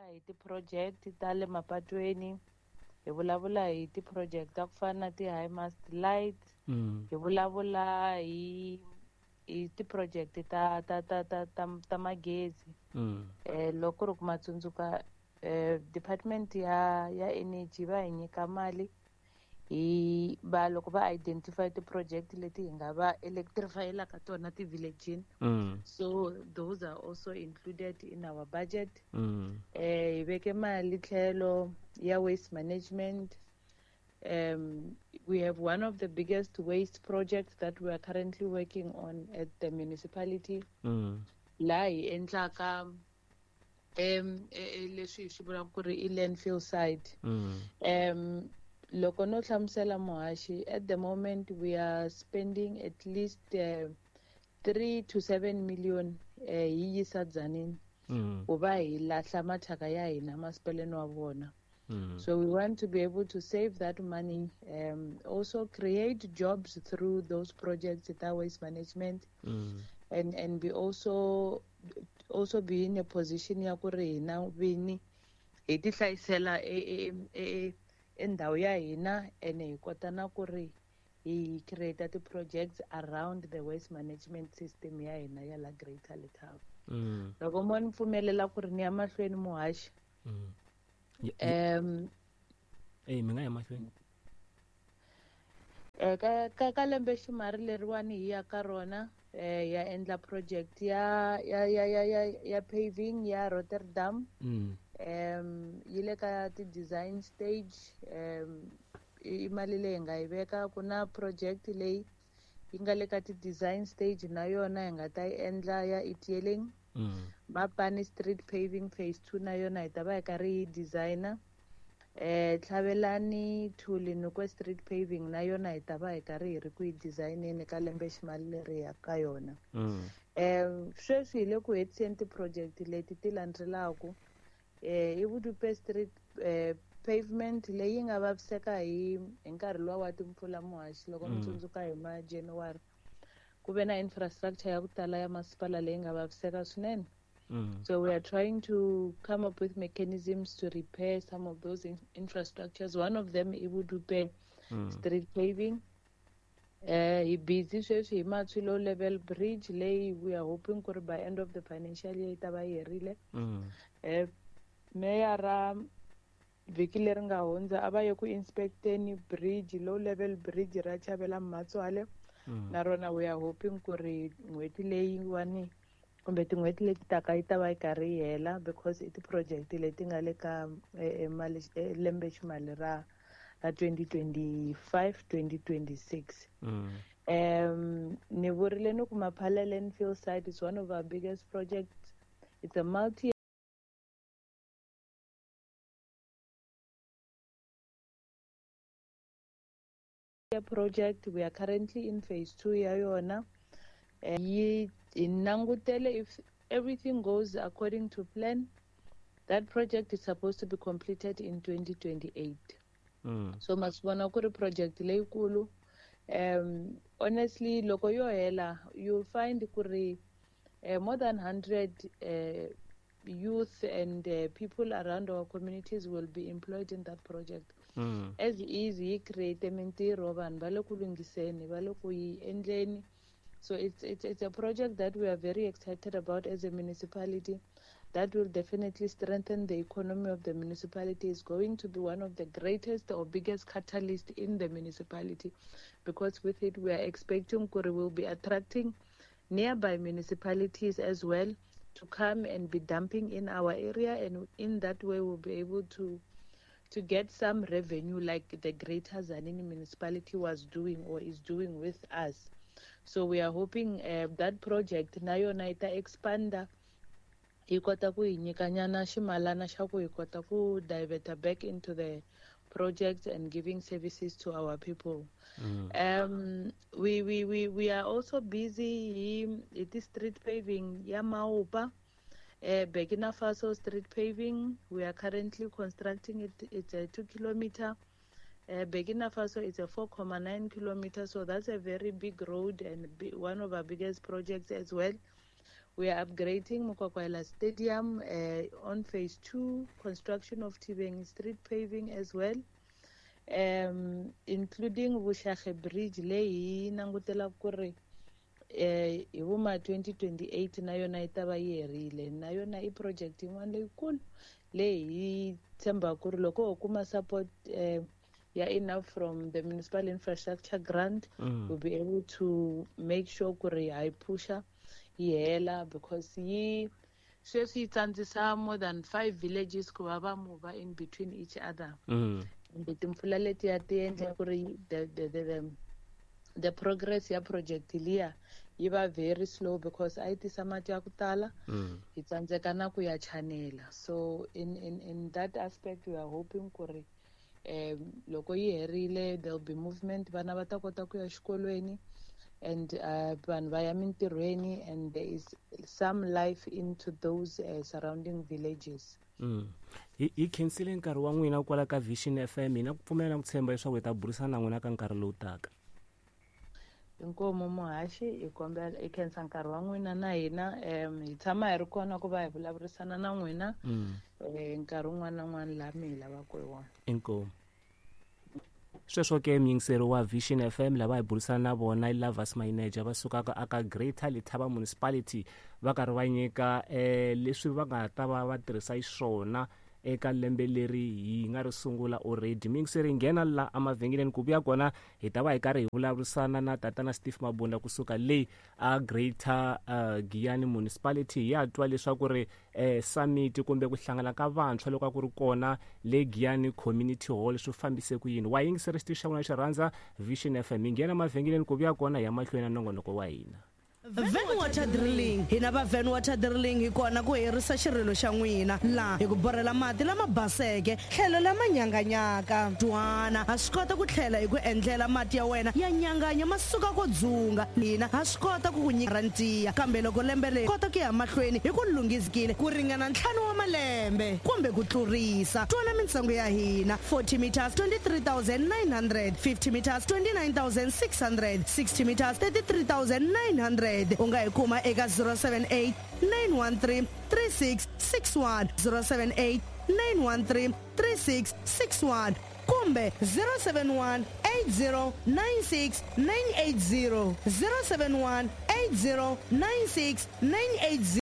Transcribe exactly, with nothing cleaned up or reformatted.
vulavula hi ti-project ta le mapatweni, hi vulavula hi ti-project ta ku fana na ti-high mast light, Mm. hi vulavula hi hi ti-project ta ta ta ta ta, ta magezi. Mm. Eh loko ri ku ma tsundzuka eh department ya ya energy va hi nyika mali hi va loko va identify ti-project leti hi nga va electrifyelaka tona ti-village-ini. Mm. So those are also included in our budget. Mm. Eh hi veke mali tlhelo ya waste management. Um, we have one of the biggest waste projects that we are currently working on at the municipality. Mm. Laha hi endlaka um leswi hi swi vulaka ku ri i landfill site. Mm. Um loko no hlamusela muhaxi, at the moment we are spending at least uh, three to seven million eh hi yisa Tzaneen Mm. ku va hi lahla mathyaka ya hina masipaleni wa vona. Mm. So we want to be able to save that money, um, also create jobs through those projects ta waste management, Mm. and, and be also, also be in a position ya ku ri hina vini hi ti hlayisela e, e, e, e, e ndhawu ya hina, ene hi kota na ku ri hi create ti-projects around the waste management system ya hina ya la Greater Letaba. Mm. Loko mo ni pfumelela ku ri ni ya mahlweni muhaxi. Mm. Ye- ye- Um, Eh, mi nga ya mahlweni. Eh, ka, ka, ka lembe ximari leriwani hi ya ka rona, eh, ya endla project ya, ya, ya, ya, ya, ya paving ya Rotterdam. Mm. Um, yi le ka ti-design stage. Um, i mali leyi hi nga yi veka. Ku na project leyi yi nga le ka ti-design stage na yona hi nga ta yi endla ya Itieleng. Mm. Mapani Street paving phase two na yona hi ta va hi karhi hi designer. Eh, Tlhavelani to Linokwe Street paving na yona hi ta va hi karhi hi ri ku yi designeni ka lembe ximali leri ya ka yona. Mm. Eh, sweswi hi le ku hetiseni ti-project leti ti landzelaku. Eh, i Vudupe Street, eh, pavement leyi nga vaviseka hi, hi nkarhi luwa wa timpfula muhaxi loko mi Mm. tsundzuka hi ma January. Ku ve na infrastructure ya ku tala ya masipala leyi nga vaviseka swinene. Mm. So we are trying to come up with mechanisms to repair some of those in-, infrastructures. One of them i Vudupe Mm. Street paving. Eh, hi busy sweswi hi Matswi Low Level Bridge leyi we are hoping ku ri by end of the financial year yi ta va yi herile. Mm. Eh, meyara vhiki leri nga hundza a va ye ku inspecteni bridge, low level bridge ra Chavela Mmatswale. Mm. Na rona we are hoping ku ri n'hweti leyiwani kumbe tin'hweti leti taka yi ta va yi karhi yi hela, because i ti-project leti nga le ka, eh, eh, mali, eh, lembe ximali ra, ra twenty twenty-five, twenty twenty-six. Mm. Um, ni vurile ni ku Maphala landfill site is one of our biggest projects. It's a multi project. We are currently in phase two ya yona. Eh, yi hi langutele if everything goes according to plan, that project is supposed to be completed in twenty twenty-eight. Mm. So ma swi vona ku ri project leyikulu. Um, honestly, loko yo hela, you'll find ku ri, eh, more than hundred, eh, youth and, uh, people around our communities will be employed in that project. Mm. As is, yi create mintirho, vanhu va le ku lunghiseni, va le ku yi endleni. So it's, it's, it's a project that we are very excited about as a municipality. That will definitely strengthen the economy of the municipality. It's going to be one of the greatest or biggest catalysts in the municipality, because with it we are expecting Kuri will be attracting nearby municipalities as well to come and be dumping in our area, and in that way we'll be able to, to get some revenue like the Greater Tzaneen municipality was doing or is doing with us. So we are hoping, uh, that project na yona yi ta expanda, yi kota ku hi nyikanyana ximalana xa ku hi kota ku diverta back into the project and giving services to our people. Mm. Um, we, we, we, we are also busy hi, hi street paving ya Maupa, uh, Burkina Faso street paving. We are currently constructing it. It's a two kilometer. Uh, Burkina Faso is a four comma nine kilometer, so that's a very big road and bi-, one of our biggest projects as well. We are upgrading Mokwakwaela Stadium uh, on phase two, construction of Tibeng Street paving as well, um, including Vushage Bridge leyi langutela ku ri eh hi vuma twenty twenty-eight na yona yi ta va yi herile. Na yona i project yin'wana leyikulu leyi hi tshemba ku ri loko ho kuma support eh, ya enough from the municipal infrastructure grant, Mm. we'll be able to make sure ku ri ha yi pusha yi hela, because yi sweswi yi tsandzisa more than five villages ku va va move in between each other. Mm. Kumbe timpfula letiya ti endla ku ri the, the, the, the, the progress ya project liya yi va very slow because a yi tisa mati ya ku tala, Mm. hi tsandzeka na ku ya chanela. So in, in, in that aspect we are hoping ku ri um loko yi herile there will be movement, vana va ta kota ku ya xikolweni and uh, vanhu va ya mintirhweni, and there is some life into those uh, surrounding villages. Mm. Hi hi khensile nkarhi wa n'wina kwala ka Vision F M, hina ku pfumela na ku tshemba leswaku hi ta burisana na n'wina ka nkarhi lowu taka. Inkomu muhaxi, hi kombela hi khensa nkarhi wa n'wina na hina, um hi tshama hi ri kona ku va hi vulavurisana na n'wina, Mm. eh, nkarhi wun'wana na wun'wana laha mi hi lavaka hi wona. Inkomu. Sweswo ke muyingiseri wa Vision F M lava hi burisana na vona i Lovers Manager va sukaka aka Greater Letaba Municipality, va karhi va nyika, eh, leswi va nga ta va va tirhisa xiswona eka lembe leri hi nga ri sungula already. Muyingiseri, nghena la emavhengeleni ku vuya kona hi ta va hi karhi hi vulavurisana na tatana Steve Mabunda kusuka le a Greater, uh, Giyani Municipality. Hi ya twa leswaku ri, eh, summit kumbe ku hlangana ka vantshwa loko a ku ri kona le Giyani Community Hall swi fambise ku yini. Wa yingiseri xitichi xa n'wina xo rhandza Vision F M. Hi nghena emavhengeleni ku vuya kona hi ya mahlweni na nongonoko wa hina. Van Water Drilling. Hina va Van Water Drilling hi kona ku herisa xirilo xa n'wina laha hi ku borhela mati lama baseke tlhelo lama nyanganyaka. Twana ha swi kota ku tlhela hi ku endlela mati ya wena ya nyanganya ma suka ko dzunga. Hina ha swi kota ku ku nyika garantiya, kambe loko lembe leri kota ku ya mahlweni hi ku lunghisikile ku ringana ntlhanu wa malembe kumbe ku tlurisa. Twana mintsengo ya hina: forty meters twenty-three thousand nine hundred, fifty meters twenty-nine thousand six hundred, sixty meters thirty-three thousand nine hundred. U nga hi kuma eka zero seven eight nine one three three six six one, zero seven eight nine one three three six six one kumbe zero seven one eight zero nine six nine eight zero, zero seven one eight zero nine six nine eight zero.